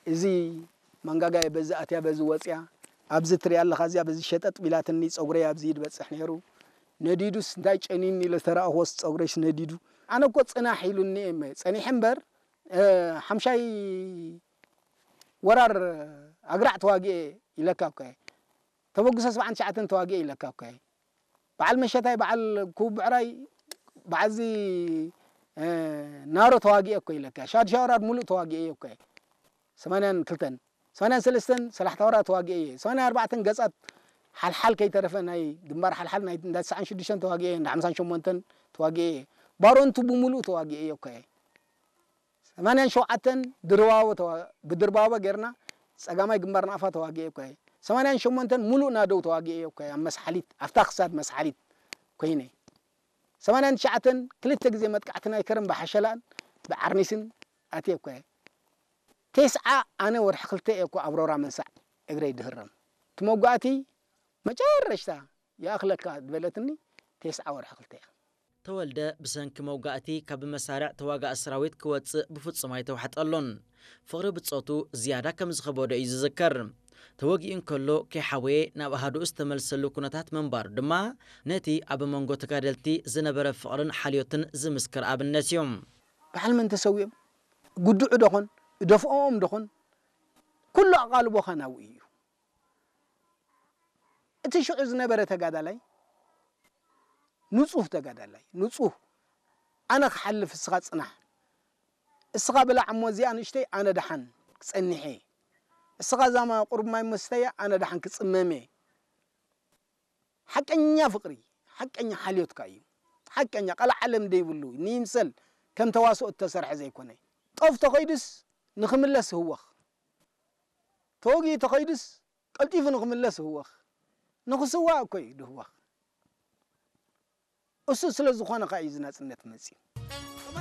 እዚ መንጋጋየ በዚ ኣትያ በዚ ወፅያ፣ ኣብዚ ትሪኣ ኣለኻ፣ እዚኣ በዚ ሸጠጥ ቢላትኒ፣ ፀጉረይ ኣብዚ ይድበፅሕ ነይሩ። ነዲዱስ እንታይ ጨኒኒ ኢለ ዝተረኣኽዎስ፣ ፀጉረይስ ነዲዱ። ኣነ እኮ ፅናሕ ኢሉኒ እየ እመ-፣ ፀኒሐ እምበር፣ እ፣ ሓምሻይ ወራር ኣግራዕ ተዋጊኤ ኢለካ እኮ እየ። ተበግሶ ሰብዓን ትሽዓተን ተዋጊኤ ኢለካ እኮ እየ። በዓል መሸታይ፣ በዓል ኩቡ ብዕራይ፣ በዓልዚ፣ እ፣ ናሮ ተዋጊኤ እኮ ኢለካ። ሻድሻ ወራር ሙሉእ ተዋጊኤ እየ እኮ እየ። ሰማንያን ክልተን፣ ሰማንያን ሰለስተን ሰላሕታ ወራር ተዋጊኤ እየ። ሰማንያን ኣርባዕተን ገጻት ሓልሓል ከይተረፈ ናይ ግንባር ሓልሓል ናይ እንዳ ትስዓን ሽዱሽተን ተዋጊኤ እየ፣ እንዳ ሓምሳን ሸሞንተን ተዋጊኤ እየ። ባሮንቱ ብሙሉእ ተዋጊኤ እየ እኮ እየ። ሰማንያን ሸውዓተን ድርባቦ ተዋ-፣ ብድርባቦ ጌርና ጸጋማይ ግንባር ናቕፋ ተዋጊኤ እኮ እየ። ሰማንያን ሸሞንተን ሙሉእ ናደው ተዋጊኤ እኮ እየ። ኣብ መስሓሊት፣ ኣብታ ክሳድ መስሓሊት ኮይነ። ሰማንያን ትሽዓተን ክልተ ግዜ መጥቃዕቲ ናይ ከረን ብሓሸላን ብዓርኒስን ኣትየ እኮ እየ። ቴስዓ ኣነ ወርሒ ክልተ እየ እኮ ኣብ ሮራ መንሳዕ እግረይ ድህረም። እቲ መጓእቲ መጨረሽታ ይኣኽለካ ዝበለትኒ ቴስዓ ወርሒ ክልተ እያ። ተወልደ ብሰንኪ መውጋእቲ ካብ መሳርዕ ተዋጋኢ ሰራዊት ክወጽእ ብፍጹም ኣይተዋሕጠሉን። ፍቕሪ ብጾቱ ዝያዳ ከም ዝኸበዶ እዩ ዝዝከር። ተወጊኡ እንከሎ፣ "ከይሓወየ ናብ ኣሃዱኡ ዝተመልሰሉ" ኩነታት ምንባሩ ድማ ነቲ ኣብ መንጎ ተጋደልቲ ዝነበረ ፍቕርን ሓልዮትን ዝምስክር ኣብነት እዩ። በዓል መን ተሰዊኦም? ግድዑ ዶኾን? እደፍኦም ዶኾን? ኩሉ ኣቓልቦኻ ናብኡ እዩ። እቲ ሽዑ ዝነበረ ተጋዳላይ፣ ንጹህ ተጋዳላይ፣ ንጹህ፣ ኣነ ክሓልፍ እስኻ ጽናሕ፣ እስኻ ብላዕ እሞ እዚኣ ንእሽተይ ኣነ ደሓን ክጸንሕ እየ፣ እስኻ እዛ ማ-፣ ቁሩብ ማይ እሞ ስተያ ኣነ ደሓን ክጽመም እየ። ሓቀኛ ፍቕሪ፣ ሓቀኛ ሓልዮትካ እዩ። ሓቀኛ ቀልዓለም ደይብሉ፣ ንይምሰል ከም ተዋስኦ እተሰርሐ ዘይኮነ። ጦፍ ተኸይዱስ ንኽምለስ ህወኽ። ተወጊኡ ተኸይዱስ ቀልጢፉ ንኽምለስ ህወኽ። ንኽስዋእ እኮ እዩ ድህወኽ። እሱ ስለ ዝኾነ ከኣ እዩ እዚ ናጽነት መጺኡ።